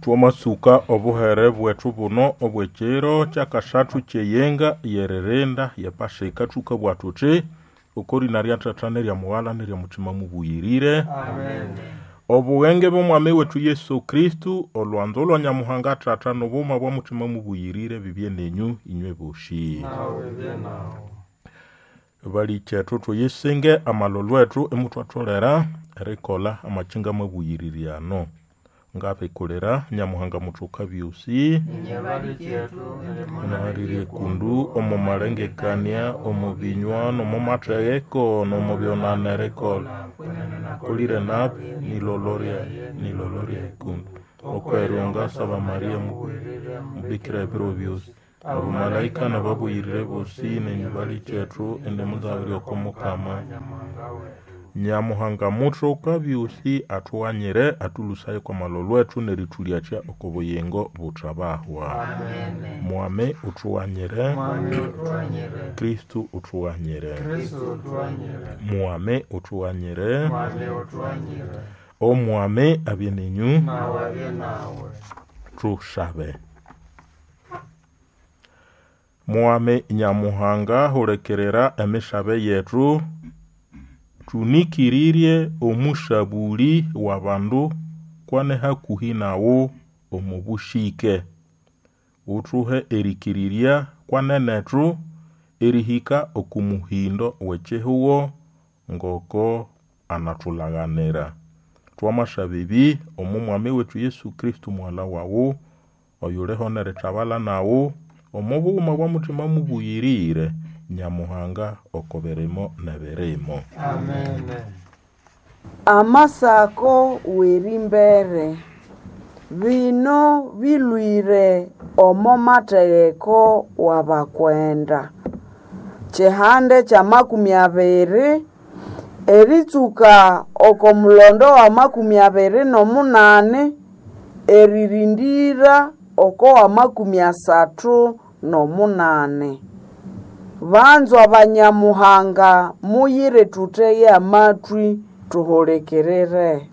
Twamasuka obuhere bwethu buno obw'ekiro kyakasathu kyeyenga yeririnda yepasika thukabugha thuthi oko rina rya Thatha nerya Mughala nerya Muthima Mubuyirire. Amen. Obughenge bw'Omwami wethu Yesu Kristu, olwanzo lwa Nyamuhanga Thatha n'obughuma bwa Muthima Mubuyirire bibye nenyu inywe bosi. Nawe bye nawe. Balikethu thuyisinge amalolho ethu imuthwatholera erikolha amakinga mabuyirire ano. Ngabikulira Nyamuhanga muthoka byosi Inye balikethu naharire kundu omu malengekania, omu binywa, n'omu matheheko, n'omu byonana erikolha. Kolire nabi nilolo ryaye, nilolo ryaye kundu. Okweryo ngasaba Maria mubuyirire, mubikira ebiro byosi. Abamalaika n'ababuyirire bosi nenyu balikethu indi muzabirye oko Mukama. Nyamuhanga wethu. Nyamuhanga muthoka byosi athughanyire athulusaya kwa malolho ethu nerithulyakya oko buyingo buthabahwa. Amen. Mwami uthughanyire, Mwami uthughanyire. Kristu uthughanyire. Kristu uthughanyire. Mwami uthughanyire, Mwami uthughanyire. Omwami abye nenyu, Nawe abye nawe. thusabe. Mwami Nyamuhanga hulikirira emisabe yethu, thunikiririe omusabuli w'abandu kwane hakuhi naghu omu bushike. Uthuhe erikirirya kwanenethu erihika oku muhindo w'ekihugho ngoko anathulaghanira. Twamasaba ebi omu Mwami wethu Yesu Kristu mughalha waghu, oyuliho nerithabalha naghu omu bughuma bwa Muthima Mubuyirire, Nyamuhanga oko birimo n'ebirimo. Amen. Amasako w'erimbere bino bilwire omo matheheko w'abakwenda. Kihande kya 20 eritsuka oko mulondo wa 28 eririndira oko wa 38. Banzwa banyamuhanga muyire thuthege amatwi thuhulikirire.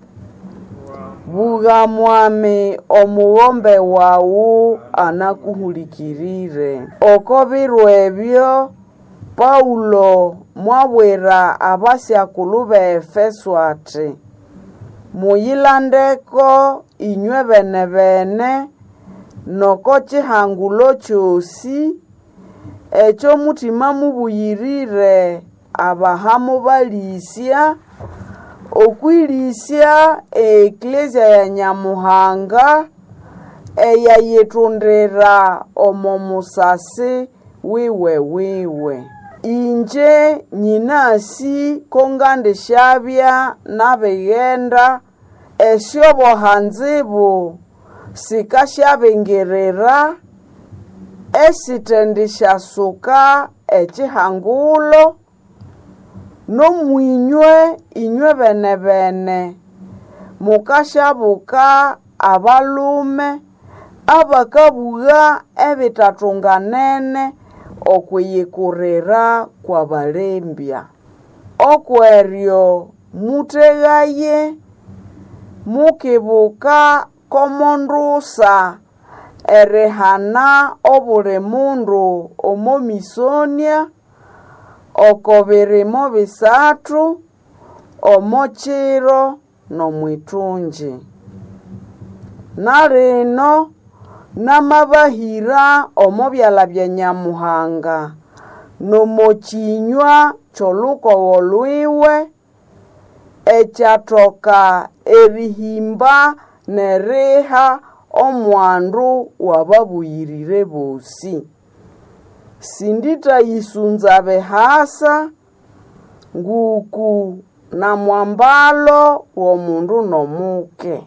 Bugha mwami omughombe wawu anakuhulikirire. Oko biro ebyo Paulo mwabwira abasyakulhu b'Efeso ati, muyilandeko inywe bene-bene n'oko kihangulo kyosi ekyo Mutima Mubuyirire abaha mubalĩsya okwĩlĩsya e Eklezia ya Nyamuhanga eyayitundira omo musasi wiwe-wiwe. Inje nyinasi ko ngandisyabya nabighenda esyoboha-nzibu sikasyabingirira esithendisyasuka ekihangulo, n'omwinywe inywe bene-bene mukasyabuka abalhume abakabugha ebithathunganene okwiyikurira kw'abalembya. Okweryo muthegaye mukibuka ko mondusa erihana obuli mundu omo misonia oko birimo bisathu omo kiro n'omwithungi. Na lino namabahira omo byalha bya Nyamuhanga n'omo kyinywa ky'olukogho lwiwe ekyathoka erihimba n'eriha omwandu w'ababuyirire bosi. Sindithayisunza bihasa nguku namwambalo w'omundu n'omuke.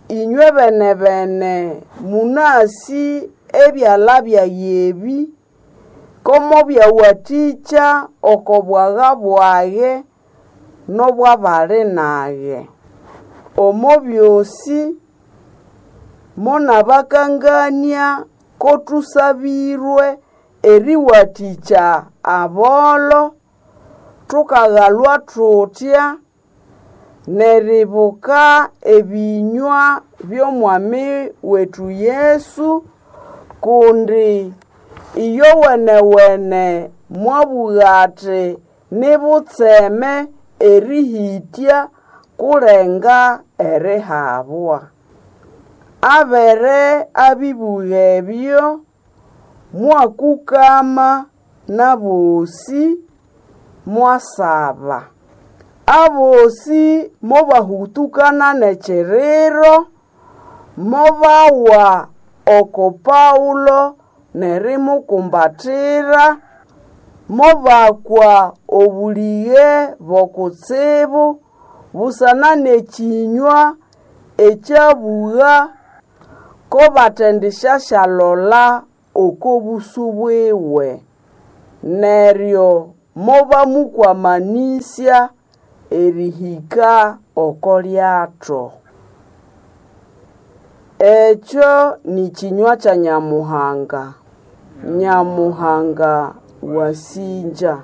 Inywe bene-bene munasi ebyalha byage ebi komo byawathikya oko bwagha bwage n'obw'abali nage. Omo byosi monabakangania ko thusabirwe eriwathikya abolho, thukaghalhwa thuthya. Neribuka ebinywa by'omwami wetu Yesu, kundi iyo wenewene mwabugha ati nibutseme erihĩtya kulenga erihabwa. Abere abibugha ebyo, mwakukama n'abosi mwasaba. Abosi mobahutukana n'ekiriro, mobawa oko Paulo n'erimukumbatira, mobakwa obulighe b'okutsibu busana n'ekinywa ekyabugha ko batendisyasyalola oko busu bwiwe. Neryo mobamukwamanĩsya erihĩka oko lyato. Ekyo ni kinywa kya Nyamuhanga. Nyamuhanga wasinja.